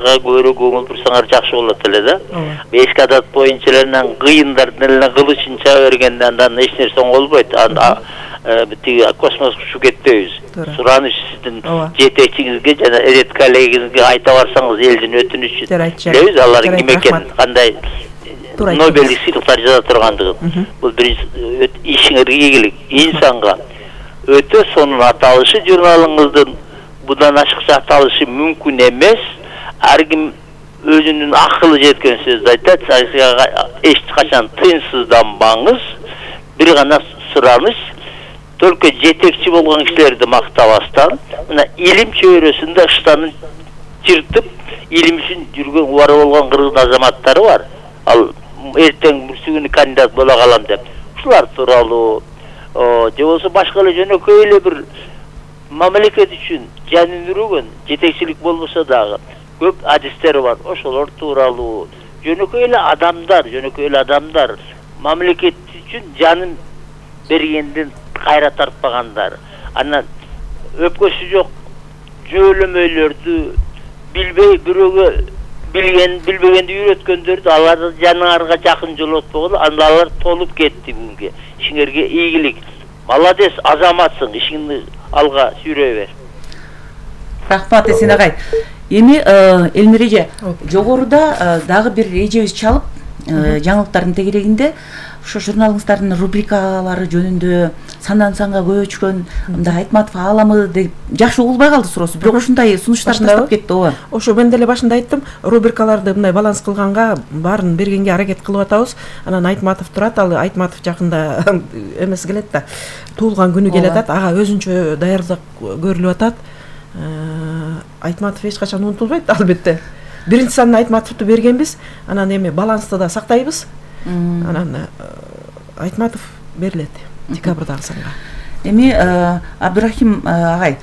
көбүрөөк көңүл бурсаңар жакшы болот эле да. Эски адат боюнча эле кыйындардын эле кылычын чаба бергенде андан эч нерсе оңолбойт. Тиги космоско учуп кетпейбиз. Сураныч сиздин жетекчиңизге жана Эдет коллегиңизге айта барсаңыз элдин өтүнүчү. Билебиз алар ким экенин, кандай Нобелдик сыйлыктар жаза тургандыгын. Бул биринчи ишиңерге ийгилик, инсанга өтө сонун аталышы журналыңыздын будан ашыкча аталышы мүмкүн эмес. Ар ким өзүнүн акылы жеткен сөздү айтат. Эч качан тыйынсызданбаңыз. Бир гана сураныч. Только жетекчи болгон кишилерди мактабастан, мына илим чөйрөсүндө ыштанын чыртып, илим үчүн жүргөн убары болгон кыргыз азаматтары бар. Ал эртең бүрсүгүнү кандидат боло калам деп. Ушулар тууралуу, же болбосо башка эле жөнөкөй эле бир мамлекет үчүн жанын үрөгөн, жетекчилик болбосо дагы көп адистер бар. Ошолор тууралуу жөнөкөй эле адамдар мамлекет үчүн жанын бергенден кайра тартпагандар. Анан өпкөсү жок жөөлөмөйлөрдү билбей бирөөгө билбегенди үйрөткөндөрдү аларды жаныңарга жакын жолотпогон, алар толуп кетти бүгүнкү. Ишиңерге ийгилик. Молодец, азаматсың, ишиңди алга сүйрөй бер. Рахмат Эсен агай. Эми Элмир эже, жогоруда дагы бир эжебиз чалып, жаңылыктардын тегерегинде ошо журналыңыздардын рубрикалары жөнүндө сандан санга көчкөн, мындай Айтматов ааламы деп жакшы угулбай калды суроосу. Бирок ушундай сунуштар таштап кетти, ооба. Ошо мен деле башында айттым, рубрикаларды мындай баланс кылганга баарын бергенге аракет кылып атабыз. Анан Айтматов турат, ал Айтматов жакында эмес келет да. Туулган күнү келет атат, ага өзүнчө даярдык көрүлүп атат. Айтматов эч качан унутулбайт, албетте. Биринчи санын Айтматовду бергенбиз, анан эми балансты да сактайбыз. Анан Айтматов берилет декабрдагы санга. Эми Абдурахим агай,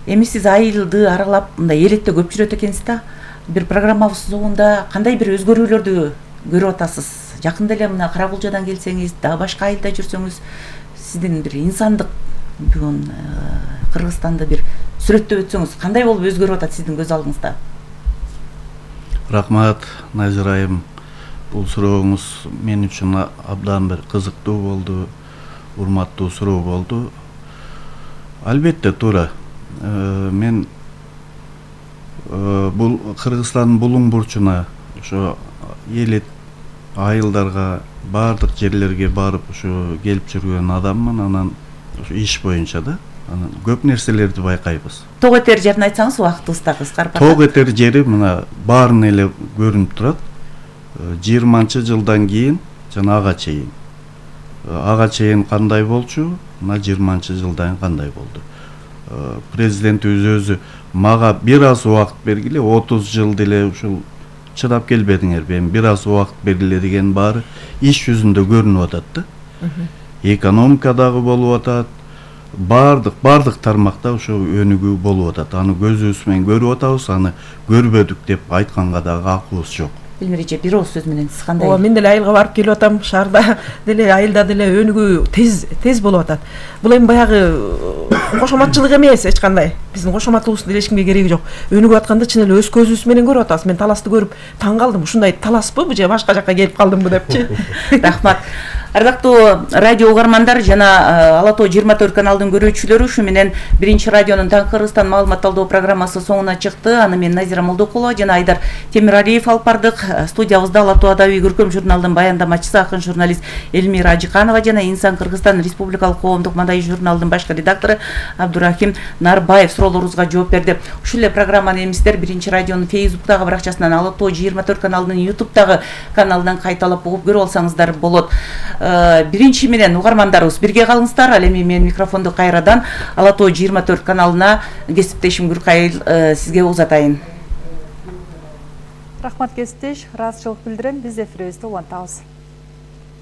эми сиз айылды аралап мындай элетте көп жүрөт экенсиз да. Бир программабыз соңунда кандай бир өзгөрүүлөрдү көрүп атасыз? Жакында эле мына Карабулжадан келсеңиз, дагы башка айылда жүрсөңүз, сиздин бир инсандык бүгүн Кыргызстанды бир сүрөттөп өтсөңүз, кандай болуп өзгөрүп атат сиздин көз алдыңызда? Рахмат, Назирайым. Бул сурооңуз мен үчүн абдан бир кызыктуу болду, урматтуу суроо болду. Албетте туура. Мен бул Кыргызстандын булуң бурчуна, ошо элет айылдарга, бардык жерлерге барып ошо келип жүргөн адаммын, анан ошо иш боюнча да. Анан көп нерселерди байкайбыз. Тог этер жерин айтсаңыз, убактыбыз да кыскарып атат. Тог этер жери мына баарын эле көрүнүп турат. 20-жылдан кийин жана ага чейин кандай болчу, мына 20-жылдан кандай болду. Президентибиз өзү мага бир аз убакыт бергиле, 30 жыл деле ушул чыдап келбедиңерби, эми бир аз убакыт бергиле деген баары иш жүзүндө көрүнүп атат да. Экономика дагы болуп атат. Бардык тармакта ошо өнүгүү болуп атат. Аны көзүбүз менен көрүп атабыз, аны көрбөдүк деп айтканга дагы акыбыз жок. Элмир эже, бир ооз сөз менен сиз кандай? Ооба, мен деле айылга барып келип атам, шаарда деле, айылда деле өнүгүү тез болуп атат. Бул эми баягы кошоматчылык эмес эч кандай. Биздин кошоматыбыздын деле эч кимге кереги жок. Өнүгүп атканды чын эле өз көзүбүз менен көрүп атабыз. Мен таласты көрүп таң калдым. Ушундай таласпы же башка жакка келип калдымбы депчи. Рахмат. Ардактуу радио угармандар жана Ала Тоо 24 каналдын көрүүчүлөрү, ушу менен биринчи радионун Таңкы Кыргызстан маалымат талдоо программасы соңуна чыкты. Аны мен Назира Молдокулова жана Айдар Темиралиев алып бардык. Студиябызда Ала Тоо Адабий көркөм журналдын баяндамачысы акын журналист Элмира Ажыканова жана Инсан Кыргызстан Республикалык коомдук мадайы журналдын башкы редактору Абдурахим Нарбаев суроолоруңузга жооп берди. Ушул эле программаны эми сиздер биринчи радионун Facebook'тагы баракчасынан, Ала Тоо 24 каналынын YouTube'тагы каналынан кайталап угуп көрүп алсаңыздар болот. Биринчи менен угармандарыбыз бирге калыңыздар. Ал эми мен микрофонду кайрадан Ала Тоо 24 каналына кесиптешим Гүркайыл сизге узатайын. Рахмат кесиптеш, ыраазычылык билдирем. Биз эфирибизди улантабыз.